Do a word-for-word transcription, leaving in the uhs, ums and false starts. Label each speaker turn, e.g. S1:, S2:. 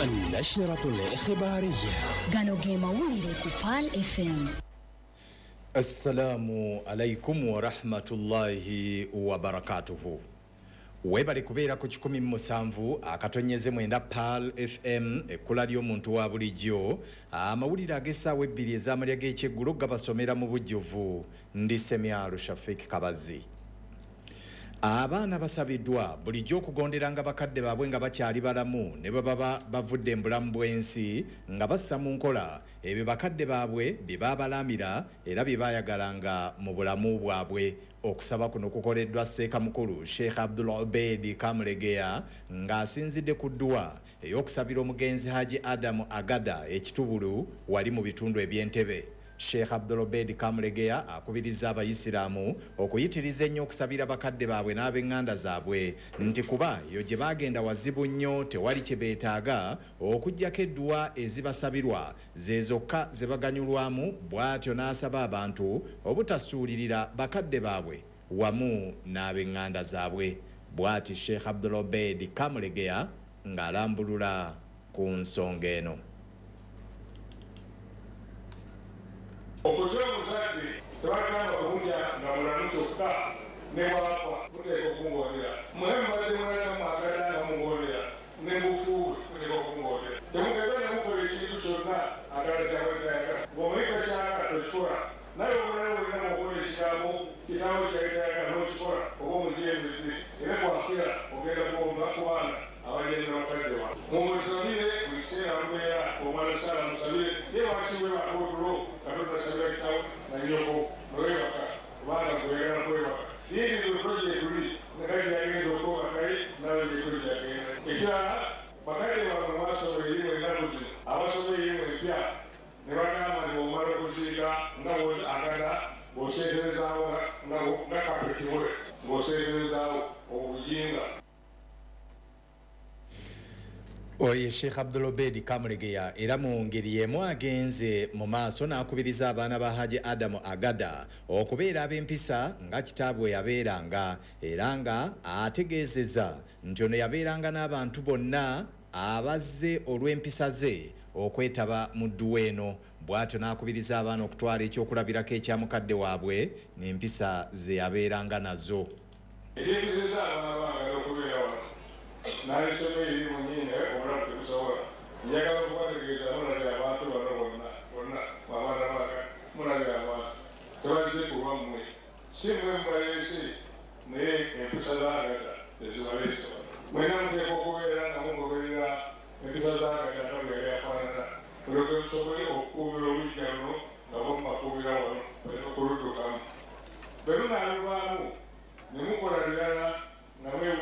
S1: النشرة الإخبارية.
S2: Gano ge mawulire ku Pearl F M.
S3: Assalamu alaikum warahmatullahi wabarakatuhu. Webale kubeera ku kikumi mu musanvu akatonyeze mwenda Pearl F M, ekkula ly'omuntu wa bulijjo. Amawulire ag'essaawa ebbiri ez'amalya g'ekyeggulo gabasomera mu bujjuvu ndi Semyalo Shafik Kabazi. Abaana basabiddwa bulijjo okugonderanga bakadde baabwe nga bakyali balamu ne bwe baba bavudde mu bulamu bw'ensi, nga bassa mu nkola ebyo bakadde baabwe bye baabalamira era bye baayagalanga mu bulamu bwabwe. Okusaba kuno kukoleddwa Seeka Mukulu Sheikh Abdul Obedi Kamulegeya ng'asinzidde ku dduwa ey'okusabira omugenzi Haji Adamu Agada ekitubulu wali mu bitundu eby'Entebe. Sheikh Abdulobedi Kamulegeya akubiriza Abayisiraamu okuyitiriza ennyo okusabira bakadde baabwe n'ab'eŋŋanda zaabwe, nti kuba eyo gye baagenda wazibu nnyo, tewali kye beetaaga okuggyako edduwa ezibasabirwa ze zokka ze baganyulwamu. Bw'atyo n'asaba abantu obutasuulirira bakadde baabwe wamu n'ab'eŋŋanda zaabwe. Bw'ati Sheikh Abdulobedi Kamulegeya ng'alambulula ku nsonga eno.
S4: Okutya omuzadde tebagamba kumutya nga mulamu kyokka, ne bwafa muteeka okungondera. Mwe mubadde mulala mwagala nga mungondera, ne mufuuwe muteeka okungondera. Temugeza ne mukola ekintu kyonna agala kyabadde. Ng'omanyi takyagala, tokikola. Naye omulala wenna ng'okola ekigambo kitaawo kyayitayagala n'okikola, oba omujeemedde, era bwakira ogenda kuwomba ku baana abagenda bakadde waabwe. Mumusabire buli kiseera mubeera omwana saala musabire. Ye lwaki webaka otulo nga totasabira kitawo na nnyoko nowebaka, kubanga gweyagala kwebaka? Yingi otulo gyetuli nekaji yagenza okwebakaye nawe gyetuli gyagenda. Ekirala, bakadde bamwe mwasoma erimu ennaku zino abasoma erimu empya ne bagamba nti bwomala okuziika nga agada ng'oseeterezaawo nga kapetiwe ng'oseeterezaawo obujinga.
S3: Oye Sheikh Abdulobedi Kamulegeya era mu ngeri y'emu agenze mu maaso n'akubiriza abaana ba Haji Adamu Agada okubeera ab'empisa nga kitaabwe yabeeranga, era nga ategeezeza nti ono yabeeranga n'abantu bonna abazze olw'empisa ze okwetaba mu dduwa eno. Bw'atyo n'akubiriza abaana okutwala ekyokulabirako ekya mukadde waabwe n'empisa ze yabeeranga nazo.
S4: Ekyekizeza abaana bange okubeera wano n'abisoma erimu nyingi, naye obulamu tebusobola. Njagala okubategeeza, mulabye abantu bano bonna bonna, abaana bange, mulabye abantu tebazze ku lwammwe, si mwe mubaleese, naye empisa z'agada tezibaleese wano. Mwena muteeka okubeera nga mugoberera empisa z'agada nga bwe yali afaanana, mulyoke musobole okukuumira oluggya luno nga bwemubakuumira wano baleme okuluddukamu. Bwe lunaaluvaamu ne mukola birala nga mwe